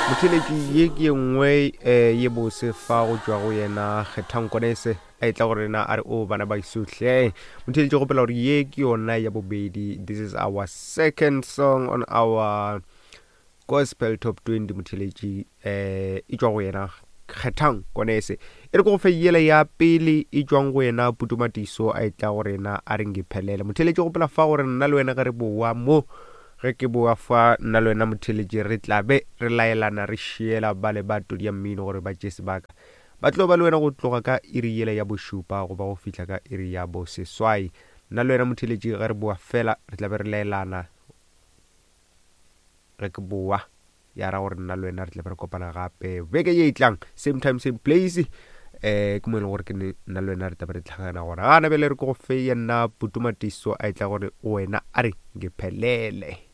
Motheeletši ye ke ye nngwe um ye bose fa go tšwa go yena Kgethang Konese a etla go rena a re o bana ba isohle. Motheeletši gopela gore ye ke yona ya bobedi. This is our second song on our Gospel Top 20 motheeletši um e tšwa go yena Kgethang Konese. E re ke go fe yela ya pele e tšwang go yena Putumatiso a etla go rena a re ngiphelele. Motheeletši gopela fa gore nna le wena ge re boa mo Ge ke boa fa, nna le wena motheeletši re tla be re laelana re šiela bale ba todi ya mmino gore ba tšee sebaka. Ba tlo ba le wena go tloga ka iri yela ya bošupa go ba go fihla ka iri ya boseswai. Nna le wena motheeletši ge re boa fela re tla be re laelana ge ke boa. Ya ra gore nna le wena re tla be re kopana gape beke ye e tlang, same time same place. Eh ke mo e leng gore ke nna le wena re tla be re tlhagana gona. Gana bjale re ke go fe ya nna Putumatiso a e tla gore wena a re ngiphelele.